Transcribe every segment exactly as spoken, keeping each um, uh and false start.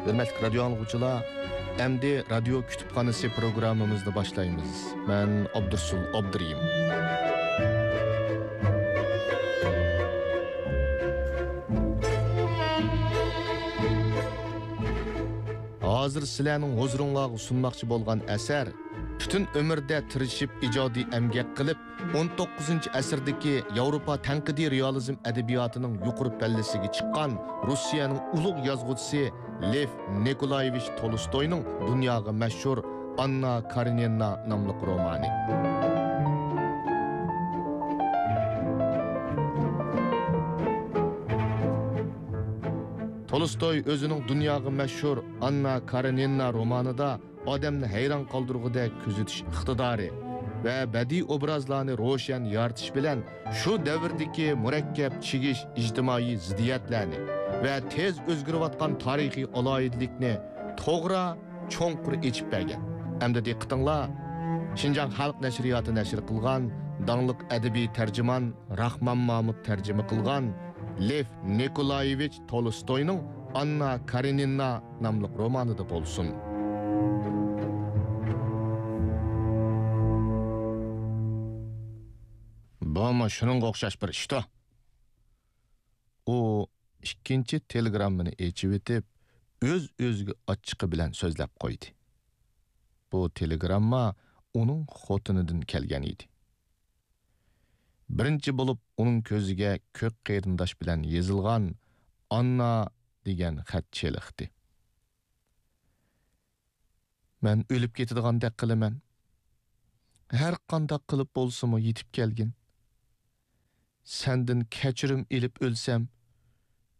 ھۆرمەتلىك رادىيو ئاڭلىغۇچىلار، ئەمدى رادىيو كۇتۇپخانىسى پروگراممىمىزنى باشلايمىز. مەن ئابدۇرسۇل ئابدۇرېھىم. ھازىر سىلەرنىڭ ھۇزۇرۇڭلارغا سۇنماقچى بولغان ئەسەر پۈتۈن ئۆمرىدە تىرىشىپ ئىجادىي ئەمگەك قىلىپ، ئون توققۇزىنچى ئەسىردىكى ياۋروپا تەنقىدىي رېئالىزم ئەدەبىياتىنىڭ يۇقىرى پەللىسىگە چىققان روسىيەنىڭ ئۇلۇغ يازغۇچىسى لېف نىكولايېۋىچ تولستوينىڭ دۇنياغا مەشھۇر ئاننا كارېنىنا ناملىق رومانى. تولستوي ئۆزىنىڭ دۇنياغا مەشھۇر ئاننا كارېنىنا رومانىدا ئادەمنى ھەيران قالدۇرغۇدەك كۆزىتىش ئىقتىدارى ۋە بەدىئىي ئوبرازلارنى روشەن يارىتىش بىلەن شۇ دەۋردىكى مۇرەككەپ چىگىش ئىجتىمائىي زىددىيەتلەرنى ۋە تېز ئۆزگىرىۋاتقان تارىخىي ئالاھىدىلىكنى توغرا، چوڭقۇر ئېچىپ بەرگەن. ئەمدى دىققىتىڭلار شىنجاڭ خەلق نەشرىياتى نەشر قىلغان داڭلىق ئەدەبىي تەرجىمان راخمان مامۇت تەرجىمە قىلغان لېف نىكولايېۋىچ تولستوينىڭ ئاننا كارېنىنا ناملىق رومانىدا بولسۇن. بۇمۇ شۇنىڭغا ئوخشاش بىر ئىشتۇ. ئۇ ئىككىنچى تېلېگراممىنى ئېچىۋېتىپ، ئۆز-ئۆزىگە ئاچچىقى بىلەن سۆزلەپ قويدى. بۇ تېلېگرامما ئۇنىڭ خوتۇنىدىن كەلگەن ئىدى. بىرىنچى بولۇپ ئۇنىڭ كۆزىگە كۆك قېرىنداش بىلەن يېزىلغان ئاننا دېگەن خەت چېلىقتى. مەن ئۆلۈپ كېتىدىغاندەك قىلىمەن. ھەر قانداق قىلىپ بولسىمۇ يېتىپ كەلگىن. سەندىن كەچۈرۈم ئېلىپ ئۆلسەم،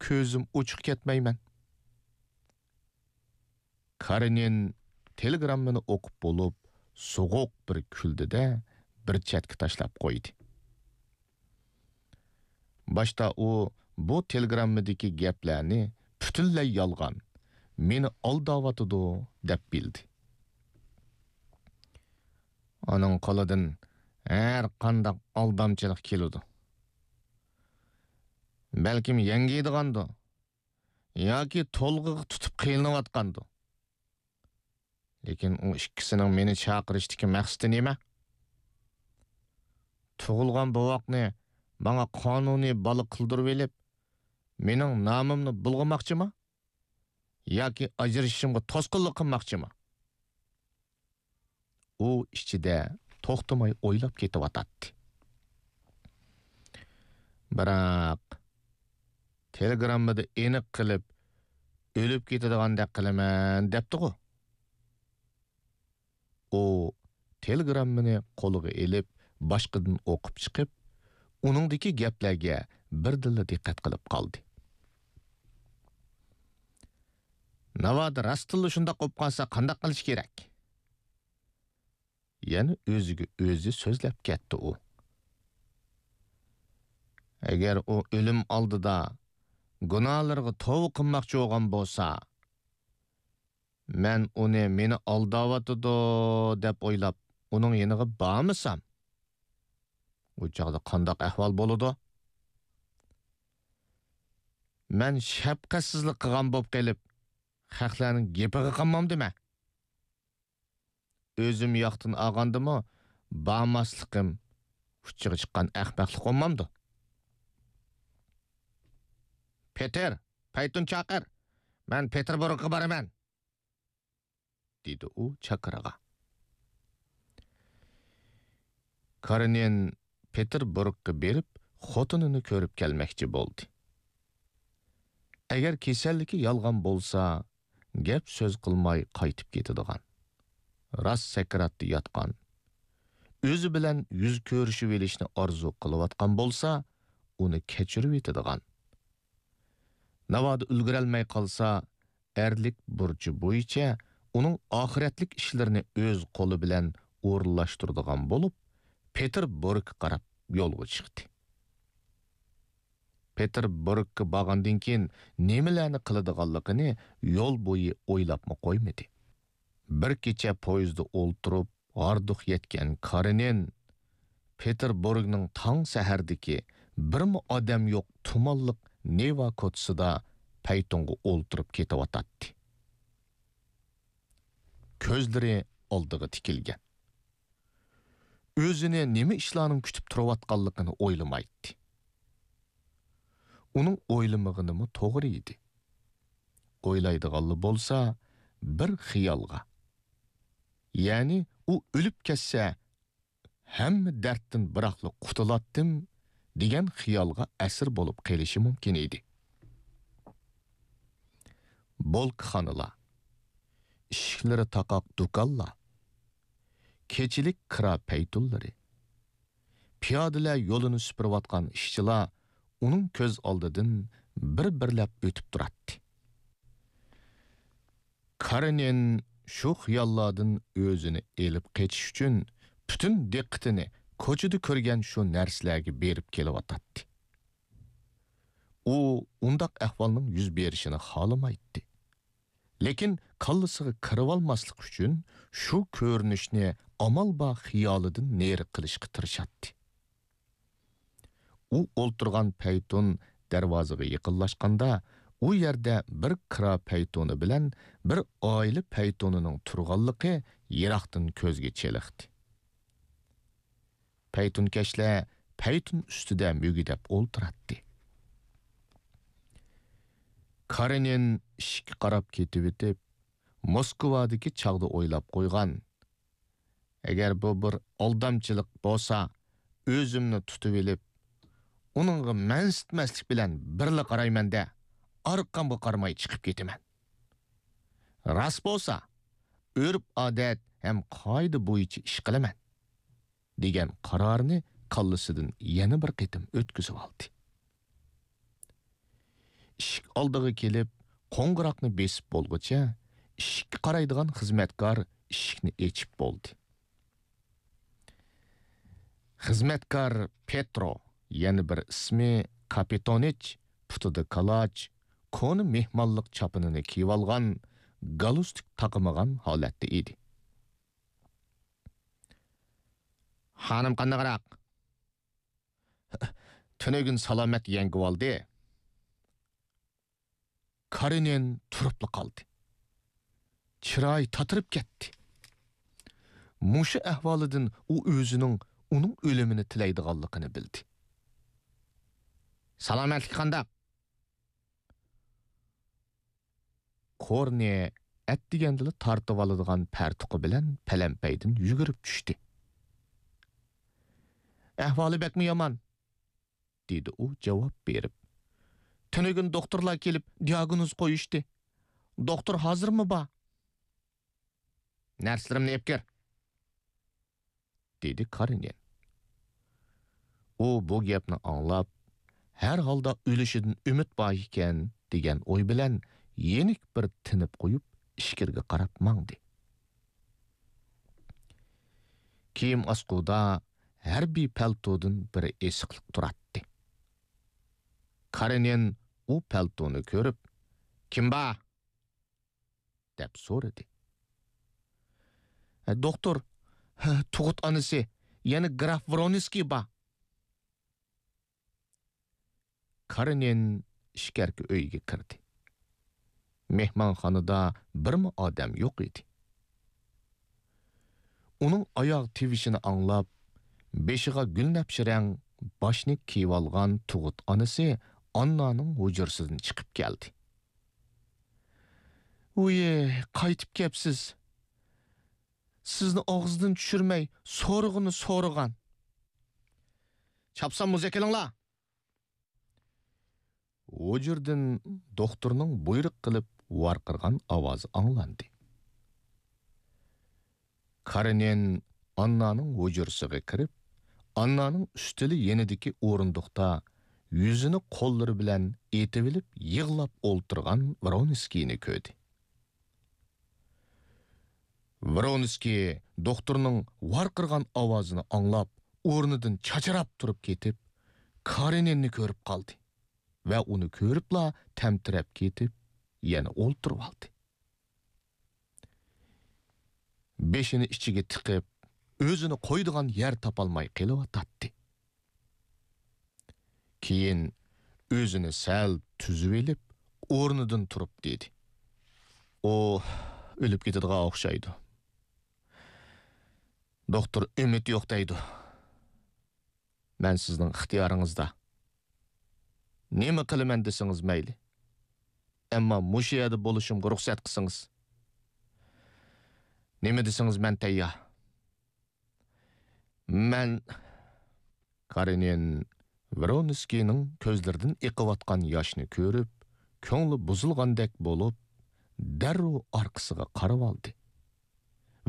كۆزۈم ئوچۇق كەتمەيمەن. كارېنىن تېلېگراممىنى ئوقۇپ بولۇپ، سوغۇق بىر كۈلدى-دە، بىر چەتكە تاشلاپ قويدى. باشتا ئۇ بۇ تېلېگراممىدىكى گەپلەرنى پۈتۈنلەي يالغان، مېنى ئالداۋاتىدۇ دەپ بىلدى. ئۇنىڭ قولىدىن ھەر قانداق ئالدامچىلىق كېلىدۇ. بەلكىم يەڭگىيدىغاندۇ ياكى تولغىغا تۇتۇپ قىينىلىۋاتقاندۇ. لېكىن ئۇ ئىككىسىنىڭ مېنى چاقىرىشتىكى مەقسىتى نېمە؟ تۇغۇلغان بوۋاقنى ماڭا قانۇنىي بالا قىلدۇرۇۋېلىپ، مېنىڭ نامىمنى بۇلغىماقچىما؟ ياكى ئاجرىشىشىمغا توسقۇنلۇق قىلماقچىما؟ ئۇ ئىچىدە توختىماي ئويلاپ كېتىۋاتاتتى. بىراق، تېلېگراممىدا ئېنىق قىلىپ، ئۆلۈپ كېتىدىغاندەك قىلىمەن دەپتىغۇ. ئۇ تېلېگراممىنى قولىغا ئېلىپ، باشقىدىن ئوقۇپ چىقىپ، ئۇنىڭدىكى گەپلەرگە بىردىنلا دىققەت قىلىپ قالدى. ناۋادا راستتىنلا شۇنداق بولۇپ قالسا قانداق قىلىش كېرەك؟ يەنە ئۆزىگە ئۆزى سۆزلەپ كەتتى ئۇ. ئەگەر ئۇ ئۆلۈم ئالدىدا گۇناھلىرىغا توۋا قىلماقچى بولغان بولسا، مەن ئۇنى مېنى ئالداۋاتىدۇ دەپ ئويلاپ، ئۇنىڭ يېنىغا بارمىسام، ئۇ چاغدا قانداق ئەھۋال بولىدۇ؟ مەن شەپقەتسىزلىك قىلغان بولۇپ قېلىپ، خەقلەرنىڭ گېپىگە قانمامدىمەن؟ ئۆزۈم ياقتىن ئالغاندىمۇ، بارماسلىقىم ئۇچىغا چىققان ئەخمەقلىق بولمامدۇ؟ پېتېر، پەيتۇن چاقىر، مەن پېتېربۇرگقا بارىمەن، دېدى ئۇ چاكىرىغا. كارېنىن پېتېربۇرگقا بېرىپ، خوتۇنىنى كۆرۈپ كەلمەكچى بولدى. ئەگەر كېسەللىكى يالغان بولسا، گەپ سۆز قىلماي قايتىپ كېتىدىغان، راست سەكراتتا ياتقان، ئۆزى بىلەن يۈز كۆرۈشۈۋېلىشنى ئارزۇ قىلىۋاتقان بولسا، ئۇنى كەچۈرۈۋېتىدىغان. ناۋادا ئۈلگۈرەلمەي قالسا، ئەرلىك بۇرچى بويىچە ئۇنىڭ ئاخىرەتلىك ئىشلىرىنى ئۆز قولى بىلەن ئورۇنلاشتۇرىدىغان بولۇپ، پېتېربۇرگقا قاراپ يولغا چىقتى. پېتېربۇرگقا بارغاندىن كېيىن نېمىلەرنى قىلىدىغانلىقىنى يول بويى ئويلاپمۇ قويمىدى. بىر كېچە پويىزدا ئولتۇرۇپ، ھاردۇق يەتكەن كارېنىن پېتېربۇرگنىڭ تاڭ سەھەردىكى بىرمۇ ئادەم يوق تۇمانلىق نېۋا كوچىسىدا پەيتۇنغا ئولتۇرۇپ كېتىۋاتاتتى. كۆزلىرى ئالدىغا تىكىلگەن. ئۆزىنى نېمە ئىشلارنىڭ كۈتۈپ تۇرۇۋاتقانلىقىنى ئويلىمايتتى. ئۇنىڭ ئويلىمىغىنىمۇ توغرا ئىدى. ئويلايدىغانلا بولسا، بىر خىيالغا، يەنى ئۇ ئۆلۈپ كەتسە، ھەممە دەردتىن بىراقلا قۇتۇلاتتىم، دېگەن خىيالغا ئەسىر بولۇپ قېلىشى مۇمكىن ئىدى. بولكىخانىلار، ئىشىكلىرى تاقاق دۇكانلار، كېچىلىك كىرا پەيتۇنلىرى، پىيادىلەر يولىنى سۈپۈرۈۋاتقان ئىشچىلار ئۇنىڭ كۆز ئالدىدىن بىر-بىرلەپ ئۆتۈپ تۇراتتى. كارېنىن شۇ خىياللاردىن ئۆزىنى ئېلىپ قېچىش ئۈچۈن پۈتۈن دىققىتىنى كوچىدا كۆرگەن شۇ نەرسىلەرگە بېرىپ كېلىۋاتاتتى. ئۇ ئۇنداق ئەھۋالنىڭ يۈز بېرىشىنى خالىمايتتى. لېكىن كاللىسىغا كىرىۋالماسلىق ئۈچۈن شۇ كۆرۈنۈشنى ئامال بار خىيالىدىن نېرى قىلىشقا تىرىشاتتى. ئۇ ئولتۇرغان پەيتۇن دەرۋازىغا يېقىنلاشقاندا، ئۇ يەردە بىر كىرا پەيتۇنى بىلەن بىر ئائىلە پەيتۇنىنىڭ تۇرغانلىقى يىراقتىن كۆزگە چېلىقتى. پەيتۇنكەشلەر پەيتۇن ئۈستىدە مۈگدەپ ئولتۇراتتى. كارېنىن ئىشىككە قاراپ كېتىۋېتىپ، موسكۋادىكى چاغدا ئويلاپ قويغان، ئەگەر بۇ بىر ئالدامچىلىق بولسا، ئۆزۈمنى تۇتۇۋېلىپ، ئۇنىڭغا مەنسىتمەسلىك بىلەن بىرلا قارايمەن-دە، ئارقامغا قارىماي چىقىپ كېتىمەن. راست بولسا، ئۆرپ-ئادەت ھەم قائىدە بويىچە ئىش قىلىمەن، دېگەن قارارنى كاللىسىدىن يەنە بىر قېتىم ئۆتكۈزۈۋالدى. ئىشىك ئالدىغا كېلىپ، قوڭغۇراقنى بېسىپ بولغۇچە، ئىشىككە قارايدىغان خىزمەتكار ئىشىكنى ئېچىپ بولدى. خىزمەتكار پېترو، يەنە بىر ئىسمى كاپىتونىچ، پۇتىدا كالاچ، كونا مېھمانلىق چاپىنىنى كىيىۋالغان، گالستۇك تاقىمىغان ھالەتتە ئىدى. خانىم قانداقراق؟ تۈنۈگۈن سالامەت يەڭگىۋالدى. كارېنىن تۇرۇپلا قالدى. چىرايى تاتىرىپ كەتتى. مۇشۇ ئەھۋالىدىن ئۇ ئۆزىنىڭ ئۇنىڭ ئۆلۈمىنى تىلەيدىغانلىقىنى بىلدى. سالامەتلىكى قانداق؟ كورنى ئەتىگەندىلا تارتىۋالىدىغان پەرتۇقى بىلەن پەلەمپەيدىن يۈگۈرۈپ چۈشتى. ئەھۋالى بەكمۇ يامان، دېدى ئۇ جاۋاب بېرىپ. تۈنۈگۈن دوختۇرلار كېلىپ دىئاگنوز قويۇشتى. دوختۇر ھازىرمۇ بار. نەرسىلىرىمنى ئېلىپ كىر، دېدى كارېنىن. ئۇ بۇ گەپنى ئاڭلاپ، ھەر ھالدا ئۆلۈشىدىن ئۈمىد بار ئىكەن، دېگەن ئوي بىلەن يېنىك بىر تىنىپ قويۇپ، ئىچكىرىگە قاراپ ماڭدى. كىيىم ئاسقۇدا ھەربىي پەلتودىن بىر ئېسىقلىق تۇراتتى. كارېنىن ئۇ پەلتونى كۆرۈپ، «كىم بار؟» دەپ سورىدى. «ھە، دوختۇر، ھە، تۇغۇت ئانىسى، يەنە گراف ۋرونسكىي بار.» كارېنىن ئىچكەرىكى ئۆيگە كىردى. مېھمانخانىدا بىرمۇ ئادەم يوق ئىدى. ئۇنىڭ ئاياغ تىۋىشىنى ئاڭلاپ، بېشىغا گۈلنەپشە رەڭ باشنى كىيىۋالغان تۇغۇت ئانىسى ئاننانىڭ ھۇجرىسىدىن چىقىپ كەلدى. «ۋۇيى، قايتىپ كەپسىز. سىزنى ئاغزىدىن چۈشۈرمەي سورىغۇنى سورىغان.» «چاپسان مۇزىكا ئېلىڭلار!» ھۇجرىدىن دوختۇرنىڭ بۇيرۇق قىلىپ ۋارقىرىغان ئاۋازى ئاڭلاندى. كارېنىن ئاننانىڭ ھۇجرىسىغا كىرىپ، ئاننانىڭ ئۈستىلى يېنىدىكى ئورۇندۇقتا يۈزىنى قوللىرى بىلەن ئېتىۋېلىپ يىغلاپ ئولتۇرغان ۋرونسكىينى كۆردى. ۋرونسكىي دوختۇرنىڭ ۋارقىرىغان ئاۋازىنى ئاڭلاپ، ئورنىدىن چاچراپ تۇرۇپ كېتىپ، كارېنىننى كۆرۈپ قالدى ۋە ئۇنى كۆرۈپلا تەمتىرەپ كېتىپ، يەنە ئولتۇرۇۋالدى. بېشىنى ئىچىگە تىقىپ، ئۆزىنى قويىدىغان يەر تاپالماي قېلىۋاتاتتى. كېيىن ئۆزىنى سەل تۈزۈۋېلىپ، ئورنىدىن تۇرۇپ دېدى: «ئۇ ئۆلۈپ كېتىدىغان ئوخشايدۇ. دوختۇر ئۈمىد يوق دەيدۇ. مەن سىزنىڭ ئىختىيارىڭىزدا. نېمە قىلىمەن دېسىڭىز مەيلى. ئەمما مۇشۇ يەردە بولۇشۇمغا رۇخسەت قىلسىڭىز. نېمە دېسىڭىز مەن تەييار. مەن كارېنىن ۋرونسكىينىڭ كۆزلىرىدىن ئېقىۋاتقان ياشنى كۆرۈپ، كۆڭلى بۇزۇلغاندەك بولۇپ، دەررۇ ئارقىسىغا قارىۋالدى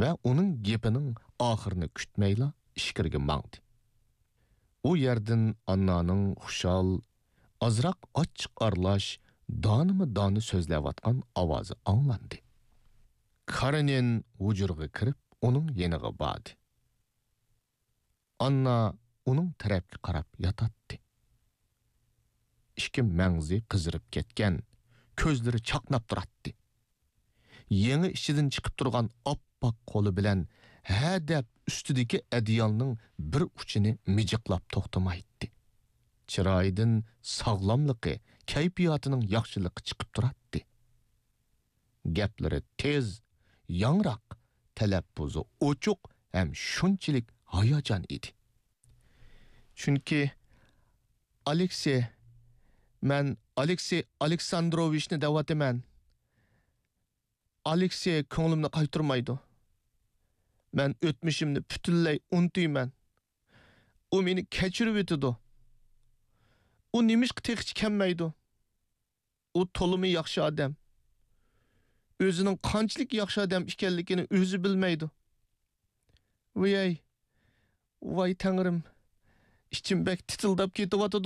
ۋە ئۇنىڭ گېپىنىڭ ئاخىرىنى كۈتمەيلا ئىچكىرىگە ماڭدى. ئۇ يەردىن ئاننانىڭ خۇشال، ئازراق ئاچچىق ئارىلاش، دانىمۇ دانە سۆزلەۋاتقان ئاۋازى ئاڭلاندى. كارېنىن ھۇجرىغا كىرىپ، ئۇنىڭ يېنىغا باردى. ئاننا ئۇنىڭ تەرەپكە قاراپ ياتاتتى. ئىككى مەڭزى قىزىرىپ كەتكەن، كۆزلىرى چاقناپ تۇراتتى. يېڭى ئىچىدىن چىقىپ تۇرغان ئاپئاق قولى بىلەن ھە دەپ ئۈستىدىكى ئەدىيالنىڭ بىر ئۇچىنى مىجىقلاپ توختىمايتتى. چىرايىدىن ساغلاملىقى، كەيپىياتىنىڭ ياخشىلىقى چىقىپ تۇراتتى. گەپلىرى تېز، ياڭراق، تەلەپپۇزى ئوچۇق ھەم شۇنچىلىك ھاياجان ئىدى. چۈنكى ئالېكسېي، مەن ئالېكسېي ئالېكساندروۋىچنى دەۋاتىمەن. ئالېكسېي كۆڭلۈمنى قايتۇرمايدۇ. مەن ئۆتمۈشۈمنى پۈتۈنلەي ئۇنتۇيمەن. ئۇ مېنى كەچۈرۈۋېتىدۇ. ئۇ نېمىشقا تېخىچە كەلمەيدۇ؟ ئۇ تولىمۇ ياخشى ئادەم. ئۆزىنىڭ قانچىلىك ياخشى ئادەم ئىكەنلىكىنى ئۆزى بىلمەيدۇ. ۋىيەي، ۋاي تەڭرىم، ئىچىم بەك تىتىلداپ كېتىۋاتىدۇ.